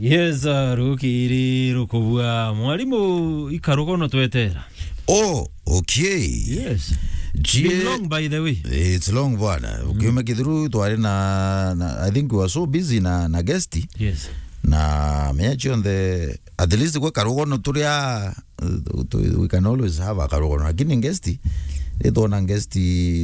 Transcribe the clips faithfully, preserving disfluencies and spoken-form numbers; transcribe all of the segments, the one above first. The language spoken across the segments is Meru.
Yes, uh, rukiri rukubua. Mwalimu, ikarugono twetera. Oh, okay. Yes. It's been long, by the way. It's long, bwana. Mm. Ukiuma kithuru twari na, na, I think we were so busy na, na guest. Yes. Na mea cionthe, at least gwe karugono turia, uh, tu-, we can always have a karugono. Lakini guest, ritwona guest,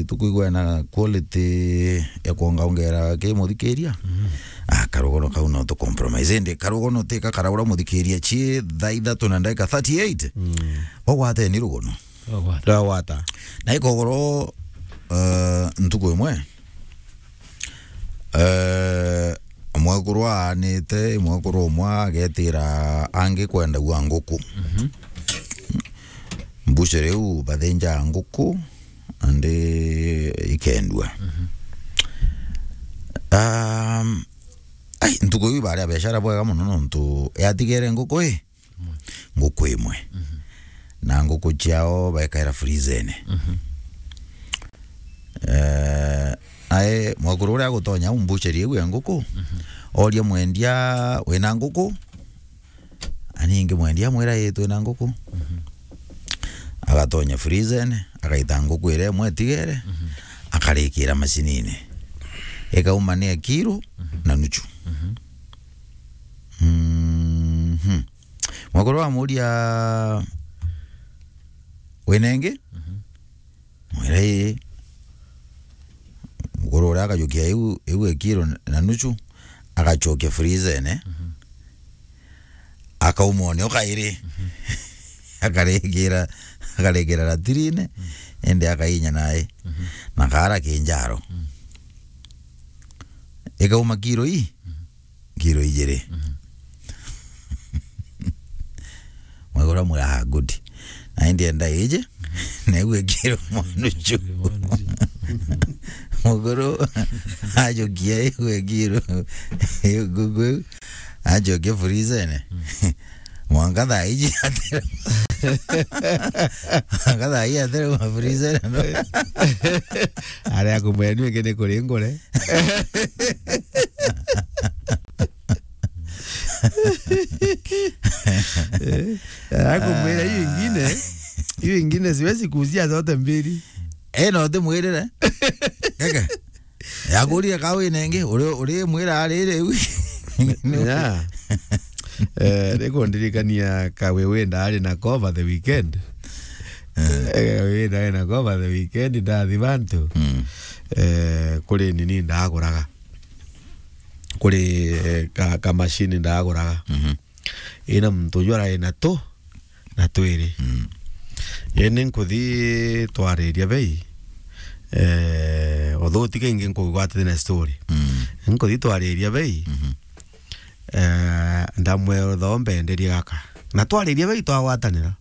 tukuigua na quality ya kuongaongera ki muthikiria. Mm. Ah, karugono kau no tu compromise. Indi karugono ti ka karaura muthikiria ci thaa ithatu na ndagika thirty-eight. Mm. Ogwateni rugono. Ogwata. Ndagwata. Na ikogoro, eh, ntuku imwe, eh, mwekuru aanite, mwekuru umwe agetira angi kwendagua nguku. Mhm. Mbucere iu bathinjaa nguku, andi ikendua. Mhm. Um, ai, ntuku iu ibaria biashara bwega mono nontu yatigere nguku i? Imwe. Nguku imwe. Mhm. Na nguku ciao baikaira frizene. Mhm. Eh, ae, mwekuru uria agutonya au mbuceri iu ya nguku, mhm, oria mwendia, "Wina nguku?" Aningi mwendia amwira, "Ii, twina nguku." Mhm. Agatonya frizene, agaita nguku iria imwe itigere, mhm, akarikira macinine. Ikauma ni ya kiro, mhm, na nuchu. Mhm. Mhm. Mwekuru amuria, "Wina ingi?" Mhm. Mwira, "Ii." Mukuru uria akajukia iu, iu ikiro na nuchu, agacokia frizene, mhm, akauma o nio kairi. Mhm. Akarikira, akarikira ratirine, mhm, indi akainya nae. Mhm. Na kaara kinjaro. Mhm. Ikauma kiro ii? Mhm. Kiro ijiri. Mhm. Mwekuru amwira, "Ah, good. Na indi enda iji, na iu ikiro mwanuchu." Mukuru ajukia iu ikiro, iu nguku iu, ajokia frizene. Mm. Mwanka thaa iji atera. Mwanka thaa iji atera mafrizene, no? Aria akumwenu ingi ni kuringure. Eh, akumwira hiyo ingine, hiyo ingine siwezi kuuzia zote mbili. Eh, no ndimwirire. Kaka. Yakuria ka wina ingi, uri, uri mwira ariri u. Ya. Eh, nikundirikania ka we wenda ari na cover the weekend. Eh. Eh, wenda ari na cover the weekend, ndathi bantu. Mm. Eh, kuri nini ndaguraga. Kuri, eh, ka, ka machine ndaguraga. Mhm. Ina muntu uju arai na tu, na twiri. Mm. Indi nkuthi twariria bei, eh, although utige ingi nkugwatite na story. Mm. Nkuthi twariria bei, mhm, eh, ndamwira utho mbenderie gaka. Na twariria bei twagwatanira.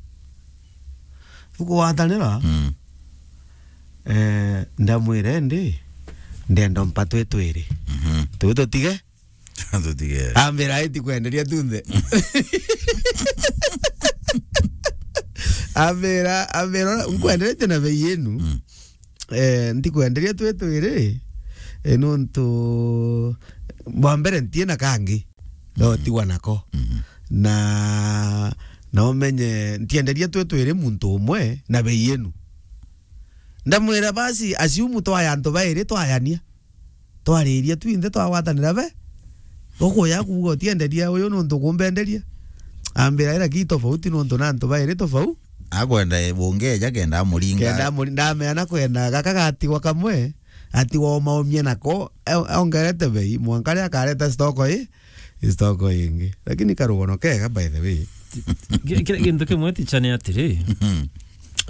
Tukugwatanira, mm, eh, ndamwira indi, ndenda mpa twi twiri. Mhm. Twi tutige? Tutige. Ambira, "Iti kwenderia tunthe." Ambira, ambira, "Nkwenderetie na bei yenu." Mm. Eh, ntikwenderia twi twiri, eh, nontu bwa mbere ntiina kangi. No, mm, tigwa nako. Mhm. Na, na umenye, ntienderia twi twiri muntu umwe na bei yenu. Ndamwira, "Basi, assume twaya antu bairi twayania." Twariria twinthe twagwatanira be. Ukuya kuuga utienderia uyu nontu kumbenderia. Ambira, "Ira ki tofauti nontu na antu bairi tofauti." Akwenda bungeja kenda amuringa. Kenda amuri-, ndamea na kwenda gaka gatigwa kamwe, atigwa omaomie nako, e-, ongerete bei, mwanka ria akareta stock i, stock ingi. Lakini karugono kega, by the way. Ki-, ki-, kintu kimwe ticha ni atiri, mhm,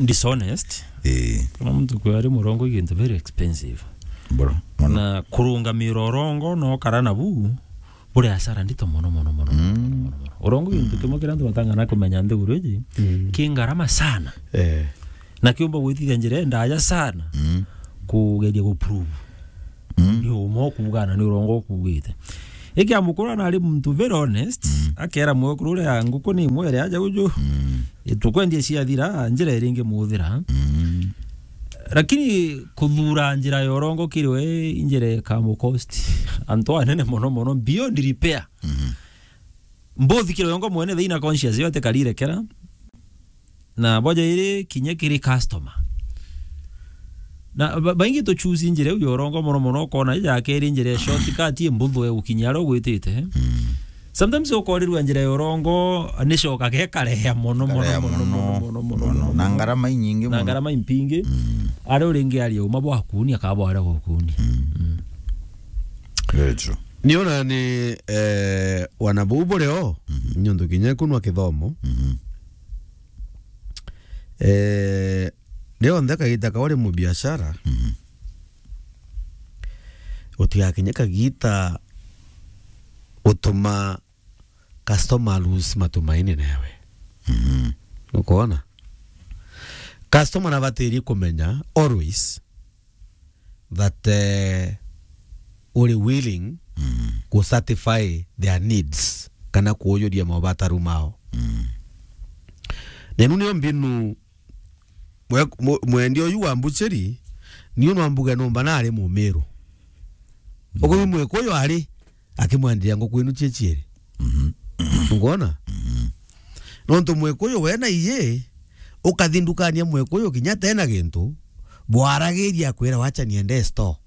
dishonest. Ii. Kana muntu kwari murongo i gintu very expensive. Bro, mono. Na kurungamira urongo no kara nabu, buri hasara ndito mono, mono, mono, mono, mm, mono, mono. Urongo i gintu, mm, kimwe kiria antu batang'ana kumenya nthiguru iji, mm, ki ngarama sana. Eh. Na kiumba gwitithia njira indaja sana, mm, kugeria guprove. Mm. Ni uma ukuuga na ni urongo ukuugite. Iki amukuru na ari muntu very honest, mm, akera mwekuru uria nguku ni imwe iri aja uju. Mm. Tukwendia ciathira, njira iri ingi muthira. Mm. Lakini kuthura njira ya urongo kiri we, njira ikamucost antu anene mono mono, beyond repair. Mm. Mbuthi kiri yongo mwene thiina conscious yote karirekera. Na boja iri kinya kiri customer. Na ba-, baingi tu choose njira iu ya urongo mono mono, ukona ija keri njira ya shortcut imbuthu ya gukinya aria ugwitite. Mm. Sometimes ukorirua njira ya urongo ni coka gekareha mono, mono, mono, mono, mono, mono, mono, mono. Na ngarama inyingi mono. Na ngarama impingi. Mm. Aria uringi aria uma bwa kuni, akaba aria gukuni. Mm. Mm. Very true. Niona ni, eh, wana buu buri o, mhm, nyuntu kinya kunwa kithomo. Mhm. Eh, rionthe kagita ka uri mubiashara, mhm, utigakinye kagita utuma customer lose matumaini nawe. Mhm. Nukwona? Customer nabatiri kumenya always that, eh, uri willing, mm, ku satisfy their needs kana kuujuria mabataru mao. Mm. Nenu nio mbinu mwe-, mwe-, mwendia uyu wa mbucheri, niu no ambuge numba nari Mumiru. Mm. Uguo Mwikuyu ari akimwenderia nguku inu cie cieri. Mhm. Ngwona? Mhm. Nontu Mwikuyu we na iye, ukathi ndukani ya Mwikuyu kinya tena gintu, bwaragiria akwira, "Wacha niende store."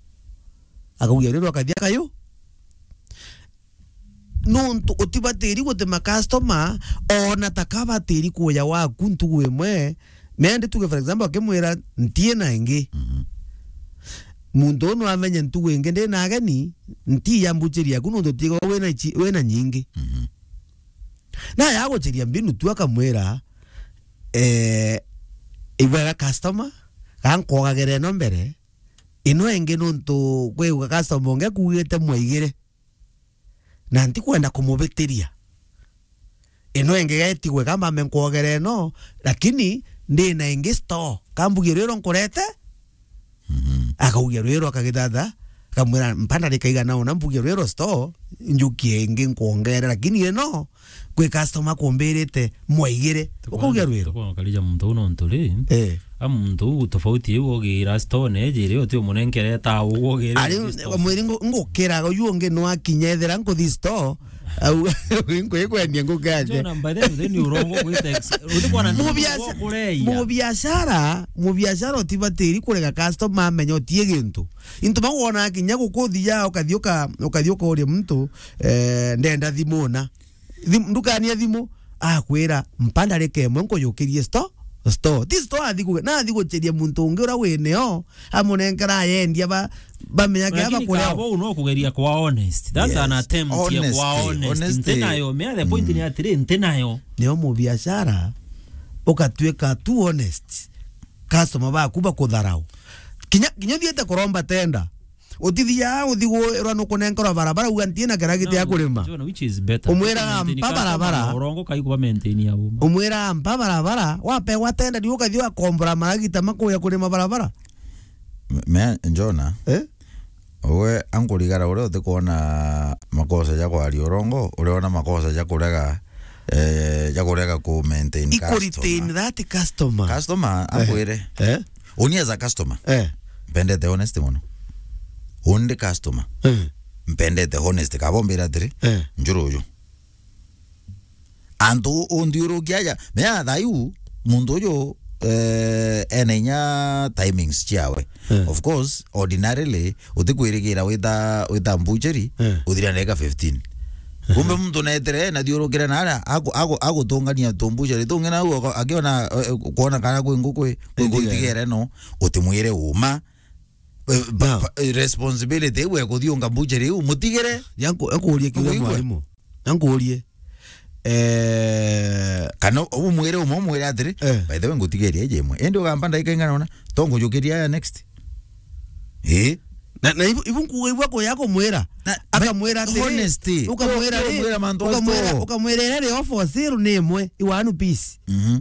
Akaugia, "Rero akathi akayu." Nontu utibatiri gutema customer, ona ta kabatiri kuya waku ntugu imwe, Mendi tuge, for example, akimwira, "Ntiina ingi." Mhm. Muntu uu no amenye ntugu ingi ndi na ageni, nti ya mbuchiri yaku nontu tigo wina ichi-, wina nyingi. Mhm. Na yaguchiria mbinu tu akamwira, eh, "Ibwega customer, ga nkwogagere ino mbere, ino ingi nontu kwi customer ungi akugite mwaigire." Na ntikwenda kumubitiria. Ino ingi getigwe kamba ame nkwogere ino, lakini ndi na ingi store. Kambugie rwiro nkurete? Mhm. Akaugia rwiro akagithatha, akamwira, "Mpa ndarika igana una mbugie rwiro store, njukie ingi nkwongere, lakini ino kwi customer kumbirite mwaigire." Ukaugia rwiro. Tukwona karija muntu uu nontu ri, eh, a muntu uu tofauti iu ogira store ne ejiri uti umunenkere ta uu ogira. Ari mwiri ngu-, ngukira uyu ungi no akinya ethira nkuthi store, au nkwi kwendia ngukaje. Jona, by the way, ni urongo gwita ex-, uti kwana mubiaca-, kureia. Mubiashara, mubiashara utibatiri kurega customer amenya utie gintu. Into magwona kinya gukuthia ukathi uka-, ukathi ukauria muntu, eh, "Ndenda thimu na." Thim-, ndukani ya thimu, akwira, "Mpa ndarika imwe nkujukirie store, store." Ti store athi ku-, na athi gucheria muntu ungi ura wineo, amunenkera ayendia ba, bamenyage. Lakini aba kureo. Kabo no kugeria kwa honest. That's, yes, an attempt ya kwa honest. Honesty. Nti nayo, me the point, mm, ni atiri, nti nayo. Nio mubiashara, ukatuika too honest. Customer baku bakutharau. Kinya, kinya uthiite kuromba tenda. Utithia uthi gwirwa nukunenkerwa barabara, uga, "Ntiina kira giti ya kurima." No, which is better. Umwira, "Maintain, "Mpa customer barabara." Urongo kai kuba maintain ya uma. Umwira, "Mpa barabara," wapegwa tenda, riu ukathi ugakombora maragita makuya kurima barabara. Me, me, Jona. Eh? Uwe ankurigara uria utikwona makosa ja kwaria urongo, uriona makosa ja kurega, eh, ja kurega ku maintain customer. Iku retain that customer. Customer, eh, akwire. Eh? Uni as a customer. Eh. Mpendete honesty mono. Uni ndi customer. Eh. Mpendete honesty. Kaba umbira atiri, eh, "Njuru uyu." Antu unthiurukia aja. Mea thaiu, muntu uyu, eh, ena inya timings ciawe. Eh. Of course, ordinarily, utikwirigira wita, wita mbucheri, eh, uthira ndagika fifteen. Eh. Kumbe muntu netere, nathiurukire na aria, aku-, aku-, agutungania tumbucheri tungi na u ako-, akiona, eh, eh, kuona kana kwi nguku i, kwi nguku itigere no, utimwire uma. Eh, ba-, ba-, eh, responsibility iu ya kuthiunga mbucheri iu, mutigire. Yanku-, yankuurie kiuria mwarimu. Yankuurie. Eh, kana umwire umwe, umwire atiri, eh, "By the way, ngutigeria iji imwe." Indi ugamba ndagika ingana una, to ngujukiria aya next. Eh? Na, na ibu, ibu nkuuga ibu akuya kumwira. Na, akamwira atiri, honesty. Ukamwira, ukamwira mantu ukamwira, asto. Ukamwira iri offer sale ni imwe, i one piece. Mhm.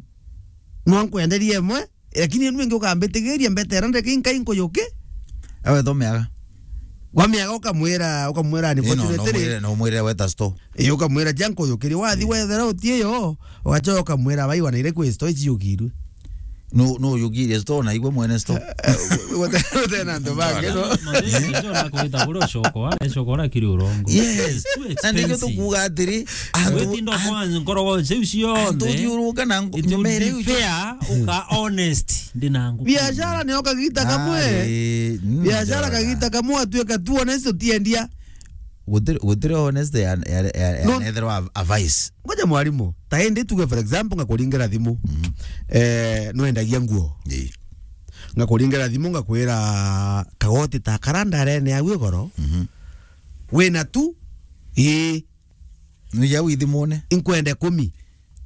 No nkwenderie imwe, lakini enu ingi ukambitigiria mbetera ndeke inkai nkujuki. Ewe thomeaga. Wameaga ukamwira, ukamwira ni, ino, fortunately. No mwire, no mwire weta store. Iyo ukamwira, "Ja nkujukirie." Wathi, eh, wethera utie yo, ugachoka ukamwira, "Bai wana ire kwi store ichiyukirwe." No, no, yukirie store na igwe mwene store. Gute-, gute na antu bangi, no? Mathina, ndio na kuita kule ucokora, ucokora kiri urongo. Yes. Too expensive. Na ndio tukuuga atiri, antu, Witindo an-, kwa nkoro wa ucio ucio antu onthe. Uthiuruka na ngu-, It will nyumere be ucio. Fair, uka honest, ndi na nguku. Biashara ni okagita kamwe. Ai, mm, biashara biashara. Kagita kamwe atuika tu honest utiendia. Gutiri, gutiri honest ya, ya, ya, ya No. Nethirwa a, a vice. Ngoja mwarimu, ta indi tuge for example ngakuringira thimu. Mhm. Eh, nwendagia nguo. Ii. Ngakuringira thimu ngakwira kagoti ta kara ndarene ya gwigoro. Mhm. Wina tu? Ii. Nuija au ithimune. Inkwenda ikumi.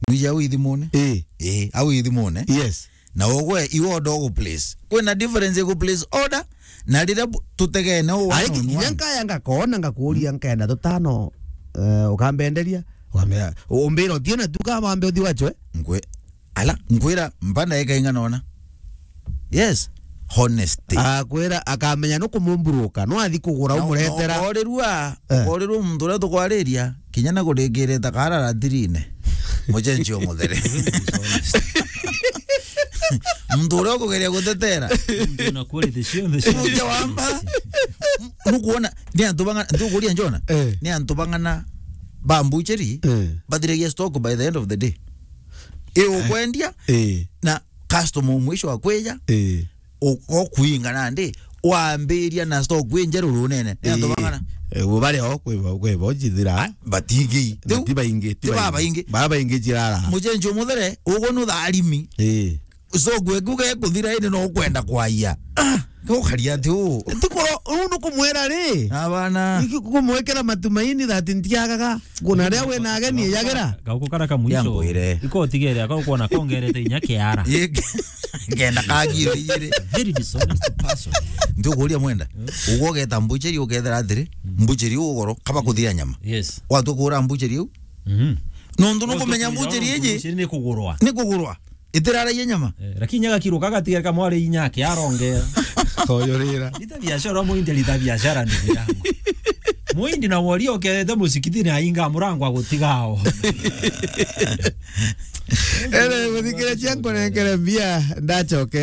Nuija au ithimune. Ii. Ii, au ithimune. Yes. Na ugwe iwe order ugu place. Kwina difference igu place order na riria bu-, tutegene u one on one. Ariki kinya nkaya ngakona ngakuria nkenda tutano, eh, ukambenderia, ukambira, umbira utie na tu kama ambe uthi wachwe. Nkwe-, ala, nkwira mpanda eka ingana ona. Yes, honesty. Akwira akamenya no kumumburuka, no athi kugura umuretera. Na, na ukorirua, Eh. Ukorirua muntu uria tukwariria, kinya na kuringirita kara ratirine. Mucenjio muthere. Muntu uria ukugeria gutetera. Muntu na quality cionthe cia Muntu wamba. Nukuona, ni antu bang'ana, ntukuria njona? Eh. Ni antu bang'ana ba mbucheri, Eh. bathiragia stock by the end of the day. I ukwendia, Eh. na customer mwisho wa kwija, Eh. u-, ukuinga nandi, wambiria na stock injeru runene. Ni antu Ii. Bang'ana? Eh, bo bari o, kwi bo, kwi bo jithira. Ah, batingi. Ti baingi, ti babaingi. Ti babaingi. Babaingi jirara. Mucenjio muthere, ugu ni utharimi. Ii. Stock eku gekuthira indi no ukwenda kwaia. Ah, ukaria ati u. Ti kuro, uu ni kumwira ri? Abana. Iki kumwikira matumaini that ntiagaga. Kuna ria wina ageni, yagira. Gauku kara ka mwisho. Yambwire. Iko utigere, akaukwona kongerete inya kiara. Ye-, ngenda kagiro ijiri. Very dishonest person. Ndio kuria mwenda. Ugo ugeta mbucheri ukethera atiri, mbucheri ugoro, kaba kuthia nyama. Yes. Watu kura mbucheri u? Mhm. Nontu nukumenya mbucheri iji. Mbucheri ni kugurwa. Ni kugurwa. Itiraragia nyama. Eh, lakini nyaga kiro kagatigara kamwari inya yake arongera. Koyorira. Rita biashara muindi, rita biashara ni yangu. Muindi na wori okerete musikitini ainga murango agutigao. Ere, muthikiriria nkunenkere mbia, ndacoke.